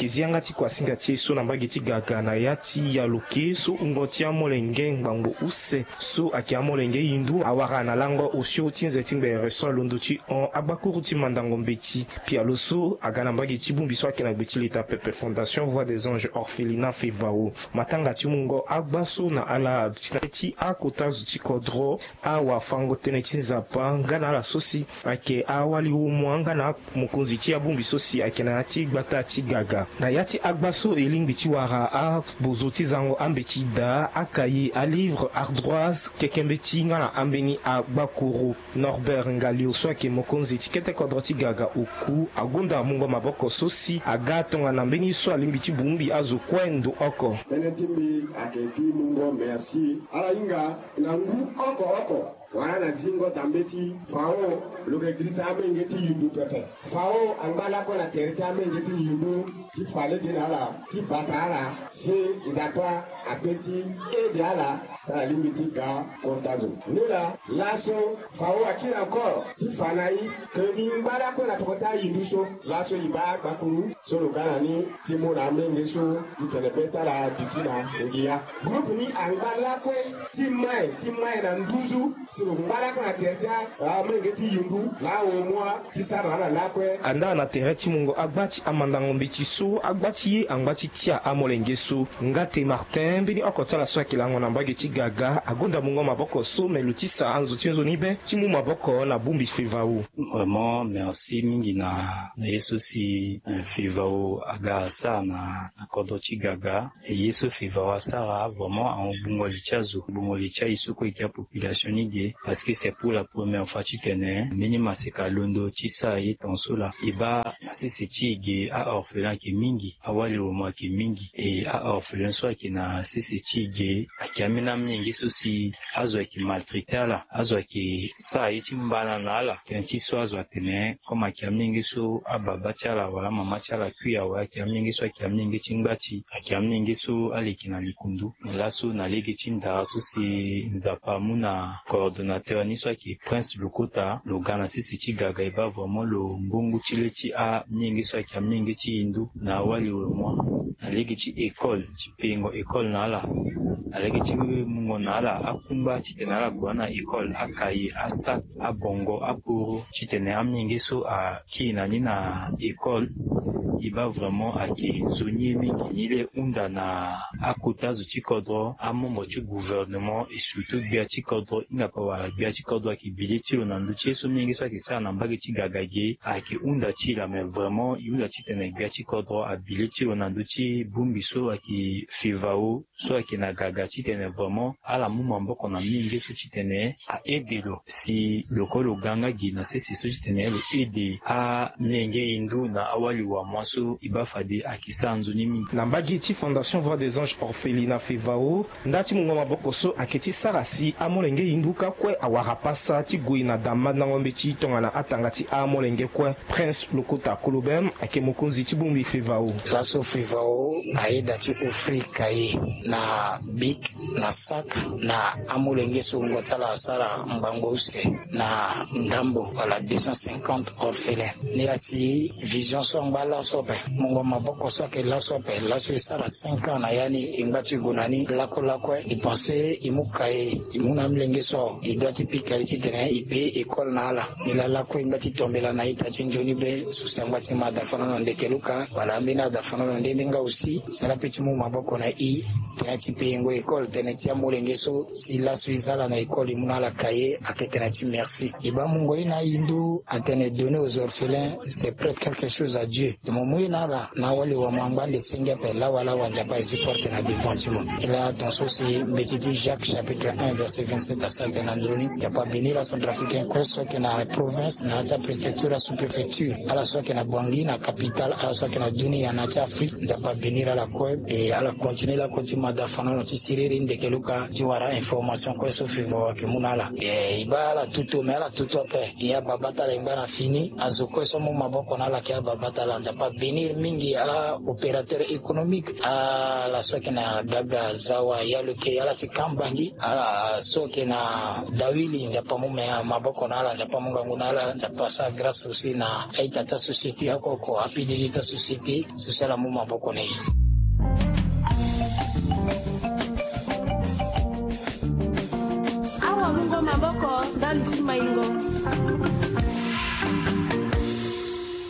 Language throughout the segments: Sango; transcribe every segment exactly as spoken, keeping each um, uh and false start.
Zi yanga ti kuasinga ti e so na mbage ti gaga na ya ti yaloke so wungo ti amolenge ngbangbo use so ayeke amolenge hindu awara na lango osio ti nze ti ngbere so alondo ti hon agbakuru ti mandango mbeti. Pialo so aga na mbage ti bongbi so ayeke na gbe ti leta pepe Fondation Voix des Anges Orphelinat Fevao. Matanga ti mungo agba so na ala ti na ti akota zo ti kodro, awafango tënë ti Nzapa nga na ala so si ayeke awali homo nga na amokonzi ti abongbi so si ayeke na ya ti gbata ti gaga. Na ya ti agba so e lingbi ti wara abozo ti zango ambeti daa, akaye, alivre, ardoise, keke mbeti nga na ambeni agbakuru. Norbert Ngalio so ayeke mokonzi ti kete kodro ti gaga oku agonda mungo maboko so si aga tongana mbeni so alingbi ti bongbi azo kue ndo oko. Tënë ti mbi ayeke ti mungo merci ala hinga na ngu oko oko. Wala na zingo dambe ti fao lo yeke girisa amenge ti yundu pepe. Fao angba lakue na tere ti amenge ti yundu ti fa lege na ala ti bata ala si Nzapa akpe ti ede ala. Sara lingbi ti ga kota zo ni laa. Laso fao akiri encore ti fa na e ke ni ngba lakue na peko ti ayindu so. Laso e baa gbakuru so lo ga na ni ti mu na amenge so ti tene be ti ala aduti na ngia. Groupe ni angba lakue ti mai ti mai na nduzu si lo ngba lakue na tere ti amenge ti yundu na aomua ti sara na ala lakue. Andaa na tere ti mungo agba ti amandango mbeti so agba ti ye angba ti tia amolenge so. Ngate Martin mbeni oko ti ala so ayeke lango na mbage ti gaga agonda mungo maboko so me lo ti sa anzo ti nzoni be ti mu maboko na bongbi Fevao. Vraiment merci mingi na na ye so si eh, Fevao aga asara na na kodro ti gaga. E ye so Fevao asara vraiment ahon bungo li ti azo, bungo li ti aye so kue e gi apopulation ni ge. Parce que c'est pour la première fois titene mbeni maseka alondo ti sara ye tongaso laa. E baa na sese ti e ge a-orphelin ayeke mingi, awali wamo ayeke mingi. E a-orphelin so ayeke na sese ti e ge ayeke ambeni amolenge so si azo ayeke maltraite ala, azo ayeke sara ye ti mbana na ala. Tënë ti so azo atene comme ayeke amolenge so ababa ti ala wala amama ti ala kui awe, ayeke amolenge so ayeke amolenge ti ngbati, ayeke amolenge so ala yeke na likundu. Me laso na lege ti ndara so si Nzapa amu na coordonnateur ni so ayeke Prince Lokota, lo ga na sese ti gaga e baa vraiment lo ngbongu ti le ti amolenge so ayeke amolenge ti hindu na awali wamo. Na lege ti école ti pengo école na ala, na lege ti mungo na ala akungba titene ala gue na école, akaye, asak, abongo, aporo titene amolenge so akiri na ni na école. E baa vraiment ayeke nzoni ye mingi ni le hunda na akota zo ti kodro, amembre ti gouvernement et surtout gbia ti kodro. Hinga pe wala gbia ti kodro ayeke bi le ti lo na ndö ti ye so molenge so ayeke sara na mbage ti gaga ge ayeke hunda ti e laa. Mais vraiment e hunda titene gbia ti kodro abi le ti lo na ndö ti bongbi so ayeke Fevao so ayeke na gaga titene vraiment ala mu maboko na molenge so titene a-ede lo si lo kue lo ga nga gi na sese so titene lo ede amolenge hindu na awali wamo so e baa fade ayeke sara nzoni mingi. Na mbage ti Fondation Voix des Anges Orphelinat Fevao, nda ti mungo maboko so ayeke ti sara si amolenge hindu kâ kue awara pasa ti gue na da mandango mbeti tongana atanga ti amolenge kue. Prince Lokota Kolobem ayeke mokonzi ti bongbi Fevao. Laso Fevao ayeda ti offrir cahier na bic na sac na amolenge so wungo ti ala asara ngbangbo use na ndambo wala deux cent cinquante orphelins. Nilaa si vision so angba laso ape, mungo maboko so ayeke laso ape, laso e sara cinq ans na ya ni e ngba ti gue na ni lakue lakue. E pense e mu cahier e mu na amolenge so e doit ti pika li titene e paye école na ala. Nilaa lakue e ngba ti tombela na ita ti nzoni be so si angba ti ma adafanono ndeke luka wala ambeni adafanono nde nde nga aussi. Sara pe ti mu maboko na e tënë ti payengo école tënë ti amolenge so si laso e za ala na école e mu na ala cahier ayeke tënë ti merci. E baa mungo ye na ahindu atene donner aux orphelins c'est prête quelque chose à Dieu. Mo mu ye na ala na awali wamo angba ande senge ape lawalawa Nzapa aye ti porte na devant ti mo. E laa tongaso si mbeti ti Jacques chapitre un verset vingt-sept asara tene na ndoni Nzapa abénir acentrafricain kue so ayeke na province na ya ti apréfecture asous-préfecture, ala so ayeke na Bangui na capitale, ala so ayeke na dunia na ya ti Afrique. Nzapa abénir ala kue e ala continuer lakue ti ma adafanono ti Siriri ndeke luka ti wara information kue so fivo ayeke mu na ala. E baa ala tutu me ala tutu ape. E ababa ti ala e ngba na fini azo kue so amu maboko na ala ayeke ababa ti ala nzapa abenir mingi a-opérateur économique, ala so ayeke na gaga zawa yaloke ala ti kambangi, ala so ayeke na dawili nzapa amu me maboko na ala nzapa amu ngangu na ala nzapa asara grâce aussi na aita ti asociété akoko apdg ti asociété sociale amu maboko na ye. Awa mungo maboko ndali ti maingo.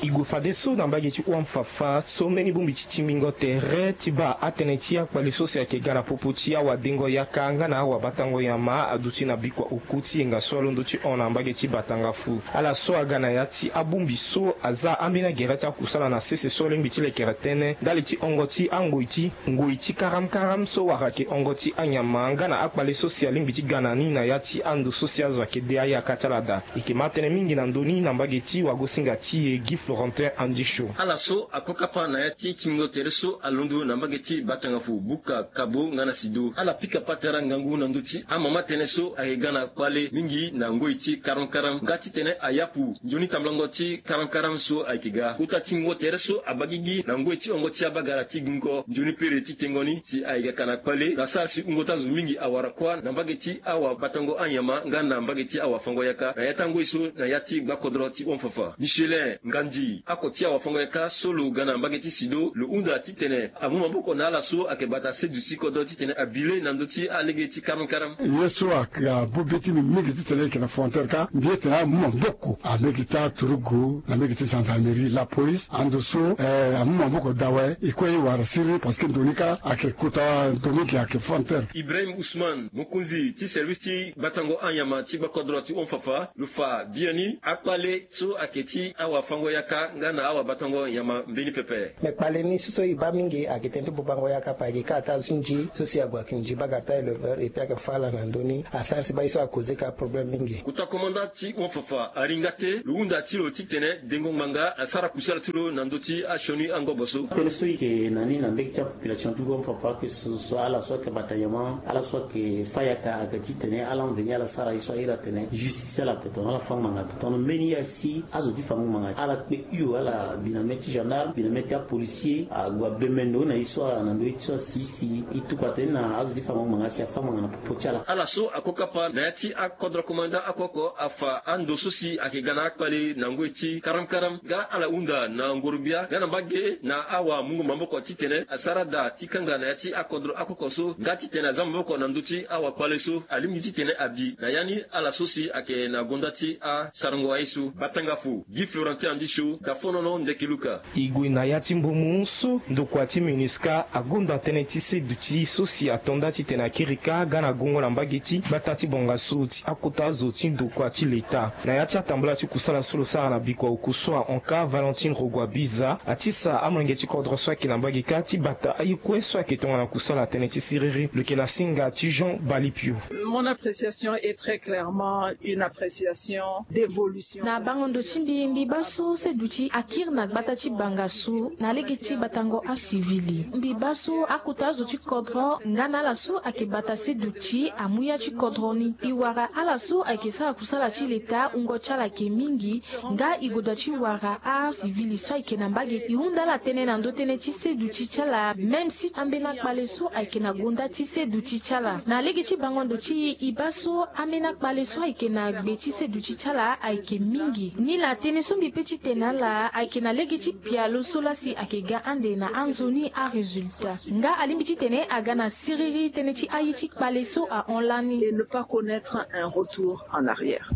E gue fadeso na mbage ti hon fafa so mbeni bongbi ti timbingo tere ti baa atënë ti akpale so si ayeke ga na popo ti awadengo yaka nga na awabatango nyama aduti na bikua oku ti yenga so alondo ti hon na mbage ti batangafu. Ala so aga na ya ti abongbi so aza ambeni agere ti akusala na sese so alingbi ti lekere tënë ndali ti hongo ti angoi ti ngoi ti karamkaram so wara ayeke hongo ti anyama nga na akpale so si alingbi ti ga na ni na ya ti ando so si azo ayeke de ayaka ti ala daa. E yeke ma tënë mingi na ndö ni na mbage ti wagosinga ti e Guy Florentin Andisho. Ala so akokapa na ya ti tingo tere so alondo na mbage ti batangafu buka kabo nga na sido ala pika patara ngangu na ndö ti amama tënë so ayeke ga na kpale mingi na ngoi ti karamkaram nga titene ayapu nzoni tambulango ti karamkaram so ayeke ga kota ti ngongo tere so abagigi na ngoi ti hongo ti abagara ti gingo nzoni pere ti tengo ni si ayeke ga ka na kpale na sara si wungo ti azo mingi awara kuâ na mbage ti awabatango anyama nga na mbage ti awafango yaka na ya ti angoi so na ya ti gbakodro ti hon fafa michelin ngandi ako ti awafango yaka so lo ga na mbage ti sido lo hunda titene amu maboko na ala so ayeke bata seduti kodro titene abi le na ndö ti alege ti karamkaram. Ye so ake abu be ti mbi mingi titene e yeke na frontière kâ mbi ye tene amu maboko amege ti aturugu na mege ti gendarmerie la police ando so amu maboko daa awe e kue e wara siriri parce que ndo ni kâ ayeke kota ndo mingi ayeke frontière. Ibrahim Ousmane mokonzi ti service ti batango anyama ti gbakodro ti hon fafa lo fa biani akpale so ayeke ti awafango yaka nga na awabatango nyama mbeni pepe. Me kpale ni so so e baa mingi ayeke tënë ti bubango yaka ape ayeke kâ ataa azo ti nzi so si ague ayeke nzi bagara ti aéleveur epui ayeke fâ ala na ndö ni asara si baa ye so akoze ka problème mingi. Kota komanda ti hon fafa aringa te lo hunda ti lo titene dengo ngbanga asara kusala ti lo na ndö ti asioni angobo so. Tënë so e yeke na ni na mbege ti apopulation ti hon fafa ake so so ala so ayeke bata nyama ala so ayeke fâ yaka ayeke titene ala mveni ala sara ye so ahiri atene justice ala ape tongana ala fâ ngbanga ape tongana mbeni ye asi azo ti fango ngbanga ala kpe hio ala bi na mê ti gendarme bi na mê ti apolicier ague abembe ndo na ye so ala na ndo ye ti so asi si e tuku atene na azo ti fango ngbanga si afâ ngbanga na popo ti ala. Ala so akokapa na ya ti akodro komanda akoko afa ando so si ayeke ga na akpale na ngoi ti karamkaram nga ala hunda na ngorogbia nga na mbage na awamungo maboko titene asara daa ti kanga na ya ti akodro akoko so nga titene aza maboko na ndö ti awakpale so alingbi titene abi na ya ni ala so si ayeke na gonda ti asarango aye so. Batangafu Guy Florentin Andisho, Dafonono Ndeke Luka. E gue na ya ti mbumu so ndokua ti MINUSCA agonda tënë ti seduti so si ato nda titene akiri kâ ga na gongo na mbage ti gbata ti bongaso ti akota zo ti ndokua ti leta. Na ya ti atambula ti kusala so lo sara na bikua oku so ahon kâ Valentine Rogua Biza atisa amolenge ti kodro so ayeke na mbage kâ ti bata aye kue so ayeke tongana kusala tënë ti siriri. Lo yeke na singa ti Jean Balipio. Mon appréciation est très clairement une appréciation d'évolution. Na bango ndo ti mbi mbi baa so seduti akiri na gbata ti bangasu na lege ti batango asivili mbi baa so akota azo ti kodro nga na ala so ayeke bata seduti amu ya ti kodro ni e wara ala so ayeke sara kusala ti leta wungo ti ala ayeke mingi. Nga e goda ti wara asivili so ayeke na mbage e hunda ala tënë na ndö tënë ti seduti ti ala même si ambeni akpale so ayeke na gonda ti seduti ti ala na lege ti bango ndo ti e e baa so ambeni akpale so ayeke na gbe ti seduti ti ala ayeke mingi. Nilaa tënë so mbi pe ti tene na ala ayeke na lege ti pialo so laa si ayeke ga ande na anzoni arésultat nga alingbi titene aga na siriri tënë ti aye ti kpale so ahon lani. Et ne pas connaître un retour en arrière.